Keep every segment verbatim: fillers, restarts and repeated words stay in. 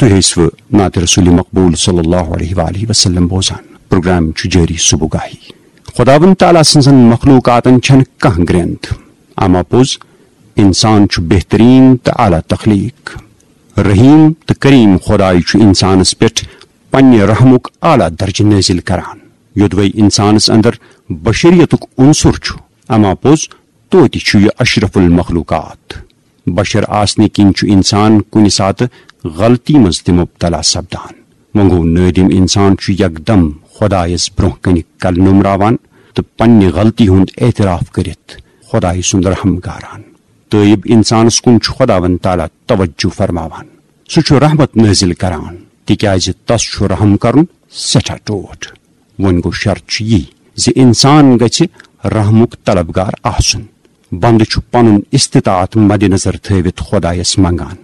تُہۍ ٲسِوٕ نعت رسول مقبول صلی اللہ علیہ وآلہ وسلم بوزان۔ پروگرام چھُ جٲری صبح گاہی۔ خداوند تعالیٰ سٕنزن مخلوقاتن چھنہٕ کانٛہہ گرٛینٛد، اما پوٚز انسان چھُ بہتریٖن تہٕ اعلیٰ تخلیق۔ رحیم تہٕ کریم خداے چھُ انسانس پٮ۪ٹھ پننہِ رحمُک اعلیٰ درجہٕ نٲزِل کران۔ یوٚدوے انسانس اندر بشریتُک عنصر چھُ، اما پوٚز توتہِ چھُ یہِ اشرف المخلوقات۔ بشر آسنہٕ کِنۍ چھُ انسان کُنہِ ساتہٕ غلطی منٛز تہِ مبتلا سپدان۔ وۄنۍ گوٚو نٲدِم انسان چھُ یکدم خدایس برونٛہہ کنہِ کلہٕ نومراوان تہٕ پننہِ غلطی ہُنٛد اعتراف کٔرِتھ خدایہِ سُنٛد رحم گاران۔ تٲیب انسانس کُن چھُ خداوند تعالیٰ توجہ فرماوان۔ سُہ چھُ رحمت نٲزِل کران، تِکیازِ تس چھُ رحم کرُن سٮ۪ٹھاہ ٹوٹھ۔ وۄنۍ گوٚو شرط چھُ یی زِ انسان گژھِ رحمُک طلبگار آسُن۔ بندٕ چھُ پنُن استطاعت مد نظر تھٲوِتھ خدایس منگان۔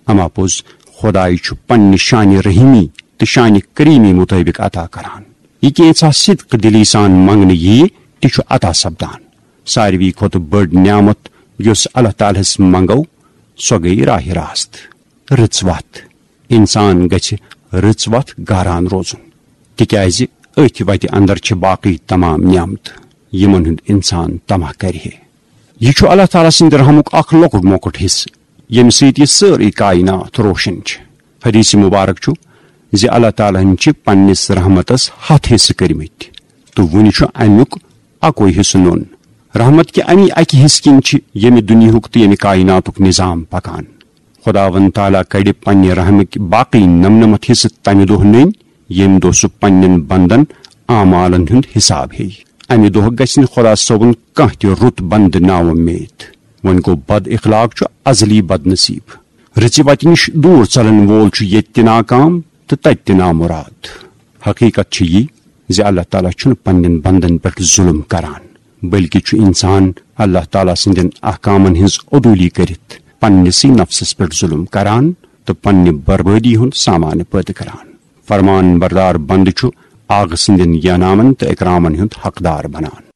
اما پوٚز خدایہِ چھُ پننہِ شانِ رحیمی تہٕ شانِ کریمی مطٲبق عطا کران۔ یہِ کینٛژھا صدق دلی سان منگنہٕ ییہِ، تہِ چھُ عطا سپدان۔ ساروی کھۄتہٕ بٔڑ نعمت یۄس اللہ تعالیٰ ہس منگو، سۄ گٔیہِ راہ راست، رٕژ وتھ۔ انسان گژھِ رٕژ وتھ گاران روزُن، تِکیازِ أتھۍ وتہِ اندر چھِ باقٕے تمام نعمتہٕ، یِمن ہُنٛد انسان طمع کرِ ہے۔ یہِ چھُ اللہ تعالیٰ سٕنٛدِ رحمُک اکھ لۄکُٹ مۄکُٹ حصہٕ، ییٚمہِ سۭتۍ یہِ سٲرٕے کائنات روشن چھِ۔ حدیث مبارک چھُ زِ اللہ تعالیٰ ہن چھِ پننِس رحمتس ہتھ حصہٕ کٔرمٕتۍ تہٕ وُنہِ چھُ امیُک اکوے حصہٕ نوٚن۔ رحمت کہِ امی اکہِ حصہٕ کِنۍ چھِ ییٚمہِ دُنیاہُک تہٕ ییٚمہِ کائناتُک نظام پکان۔ خداوند تعالیٰ کڑِ پننہِ رحمٕکۍ باقٕے نمنمتھ حصہٕ تمہِ دۄہ نٔنۍ، ییٚمہِ دۄہ سُہ پننٮ۪ن بندن اعمالن ہُنٛد حساب ہیٚیہِ۔ امہِ دۄہ گژھِ نہٕ خدا صٲبُن کانٛہہ تہِ رُت بندٕ ناومید۔ وۄنۍ گوٚو بد اخلاق چھُ ازلی بد نصیب۔ رٕژِ وتہِ نِش دوٗر ژلن وول چھُ ییٚتہِ تہِ ناکام تہٕ تتہِ تہِ نامراد۔ حقیقت چھِ یہِ زِ اللہ تعالیٰ چھُنہٕ پننٮ۪ن بندن پٮ۪ٹھ ظلم کران، بلکہِ چھُ انسان اللہ تعالیٰ سٕنٛدٮ۪ن احکامن ہٕنٛز عدولی کٔرِتھ پننِسٕے نفسس پٮ۪ٹھ ظلم کران تہٕ پننہِ بربٲدی ہُنٛد سامان پٲدٕ کران۔ فرمان بردار بندٕ چھُ آغہٕ سٕنٛدٮ۪ن ینامن تہٕ اکرامن ہُنٛد حقدار بنان۔